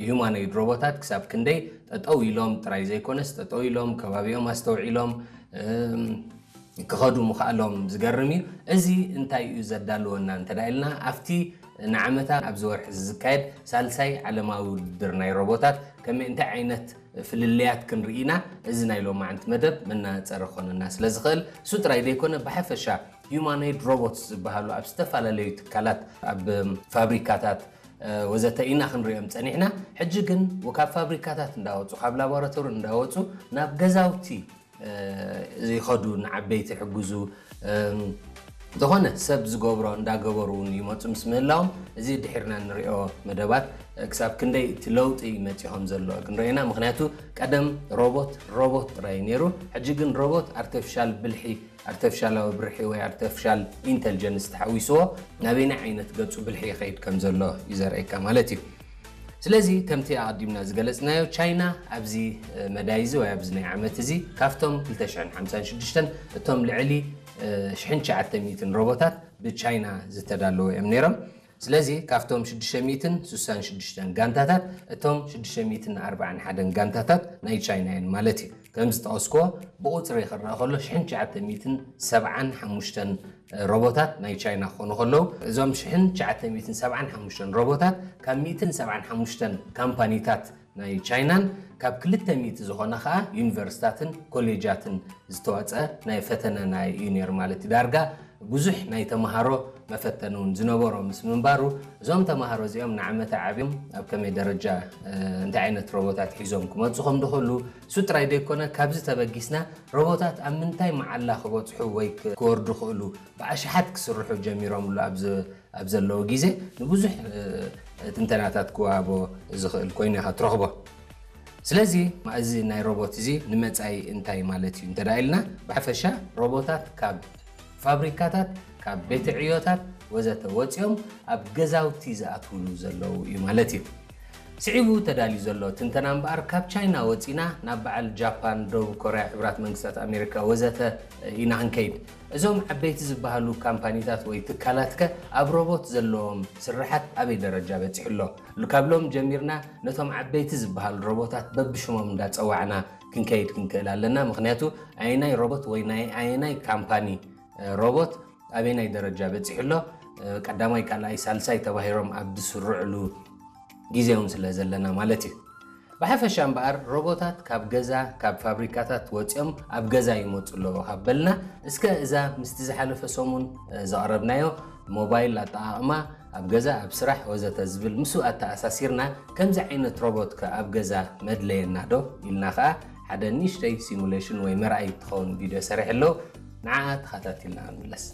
ሂዩማኖይድ ሮቦታት ክሳብ ክንደይ ጠጠው ኢሎም ጥራይ ዘይኮነስ፣ ጠጠው ኢሎም ከባቢኦም ኣስተውዒሎም ክኸዱ ምኽኣሎም ዝገርም እዩ። እዚ እንታይ እዩ ዘዳልወና እንተ ኢልና፣ ኣብቲ ንዓመታ ኣብዚ ወርሒ ዝካየድ ሳልሳይ ዓለማዊ ውድድር ናይ ሮቦታት ከመይ፣ እንታይ ዓይነት ፍልልያት ክንርኢ ኢና፣ እዚ ናይ ሎማዓንቲ መደብ መናፀሪ ክኾነና ስለ ዝኽእል፣ እሱ ጥራይ ዘይኮነ፣ ብሓፈሻ ሂዩማኖይድ ሮቦትስ ዝበሃሉ ኣብ ዝተፈላለዩ ትካላት፣ ኣብ ፋብሪካታት ወዘተ ኢና ክንሪኦም ፀኒሕና። ሕጂ ግን ካብ ፋብሪካታት እንዳወፁ፣ ካብ ላቦራቶሪ እንዳወፁ ናብ ገዛውቲ ይኸዱ፣ ንዓበይቲ ይሕግዙ። ዝኾነ ሰብ ዝገብሮ እንዳገበሩ እውን ይመፁ ምስ ምህላዎም፣ እዚ ድሒርና ንሪኦ መደባት ክሳብ ክንደይ እቲ ለውጢ መፂኦም ዘሎ ክንሪኦ ኢና። ምክንያቱ ቀደም ሮቦት ሮቦት ጥራይ ነይሩ፣ ሕጂ ግን ሮቦት ኣርቲፊሻል ብልሒ፣ ኣርቲፊሻላዊ ብርሒ ወይ ኣርቲፊሻል ኢንተልጀንስ ተሓዊስዎ ናበይና ዓይነት ገፁ ብልሒ ይኸይድ ከም ዘሎ እዩ ዘርእየካ ማለት እዩ። ስለዚ ከምቲ ኣቐዲምና ዝገለፅናዮ፣ ቻይና ኣብዚ መዳይ እዚ ወይ ኣብዚ ናይ ዓመት እዚ ካብቶም ክልተ ሽሕን ሓምሳን ሽዱሽተን እቶም ልዕሊ ሽሕን ትሽዓተ ሚእትን ሮቦታት ብቻይና ዝተዳለዉ እዮም ነይሮም። ስለዚ ካብቶም ሽዱሽተ ሚእትን ስሳን ሽዱሽተን ጋንታታት እቶም ሽዱሽተ ሚእትን ኣርባዓን ሓደን ጋንታታት ናይ ቻይና እዮም ማለት እዩ። ከም ዝጠቐስክዎ፣ ብቑፅሪ ክረኣ ከሎ ሽሕን ትሽዓተ ሚእትን ሰብዓን ሓሙሽተን ሮቦታት ናይ ቻይና ክኾኑ ከለዉ፣ እዞም ሽሕን ትሽዓተ ሚእትን ሰብዓን ሓሙሽተን ሮቦታት ካብ ሚእትን ሰብዓን ሓሙሽተን ካምፓኒታት ናይ ቻይናን ካብ ክልተ ሚእቲ ዝኾና ከዓ ዩኒቨርሲታትን ኮሌጃትን ዝተዋፀ ናይ ፈተነ ናይ እዩ ነይሩ ማለት እዩ። ዳርጋ ብዙሕ ናይ ተምሃሮ መፈተኒ እውን ዝነበሮ ምስ ምንባሩ፣ እዞም ተምሃሮ እዚኦም ንዓመታ ዓብዮም ኣብ ከመይ ደረጃ እንታይ ዓይነት ሮቦታት ሒዞም ክመፁ ከም ዝኽእሉ፣ እሱ ጥራይ ዘይኮነ፣ ካብዚ ተበጊስና ሮቦታት ኣብ ምንታይ መዓላ ክበፅሑ ወይ ክወርዱ ክኽእሉ ብኣሽሓት ክስርሑ ጀሚሮምሉ ኣብ ዘለዉ ግዜ ንብዙሕ ትንተናታት ክወሃቦ ዝኽእል ኮይኑ ኢኻ ትረኽቦ። ስለዚ እዚ ናይ ሮቦት እዚ ንመጻኢ እንታይ ማለት እዩ እንተ ኢልና፣ ብሓፈሻ ሮቦታት ካብ ፋብሪካታት፣ ካብ ቤት ዕዮታት ወዘተ ወጺኦም ኣብ ገዛውቲ ዝኣትውሉ ዘለዉ እዩ ማለት እዩ። ስዒቡ ተዳልዩ ዘሎ ትንተና እምበኣር፣ ካብ ቻይና ወጺና ናብ በዓል ጃፓን፣ ደቡብ ኮርያ፣ ሕቡራት መንግስታት ኣሜሪካ ወዘተ ኢና ክንከይድ። እዞም ዓበይቲ ዝበሃሉ ካምፓኒታት ወይ ትካላትከ ኣብ ሮቦት ዘለዎም ስርሓት ኣበይ ደረጃ በጺሑ ኣሎ? ካብ ሎም ጀሚርና ነቶም ዓበይቲ ዝበሃሉ ሮቦታት በብሽሞም እንዳጸዋዕና ክንከይድ ክንክእል ኣለና። ምኽንያቱ ኣየናይ ሮቦት ወይ ናይ ኣየናይ ካምፓኒ ሮቦት ኣበየናይ ደረጃ በጺሑ ኣሎ፣ ቀዳማይ፣ ካልኣይ፣ ሳልሳይ ተባሂሮም ኣብ ዝስርዕሉ ግዜ እውን ስለ ዘለና ማለት እዩ። ብሓፈሻ እምበኣር ሮቦታት ካብ ገዛ፣ ካብ ፋብሪካታት ወፂኦም ኣብ ገዛ ይመፁ ኣለዉ ካብ በልና፣ እስከ እዛ ምስቲ ዝሓለፈ ሰሙን ዘቕረብናዮ ሞባይል ኣጠቓቕማ ኣብ ገዛ፣ ኣብ ስራሕ ወዘተ ዝብል ምስኡ ኣተኣሳሲርና ከምዚ ዓይነት ሮቦት ከ ኣብ ገዛ መድለየና ዶ ኢልና ከዓ ሓደ ንእሽተይ ሲሙሌሽን ወይ መርኣይ ትኸውን ቪድዮ ሰሪሐ ኣለዉ። ንዓኣ ተኸታቲልና ክንምለስ።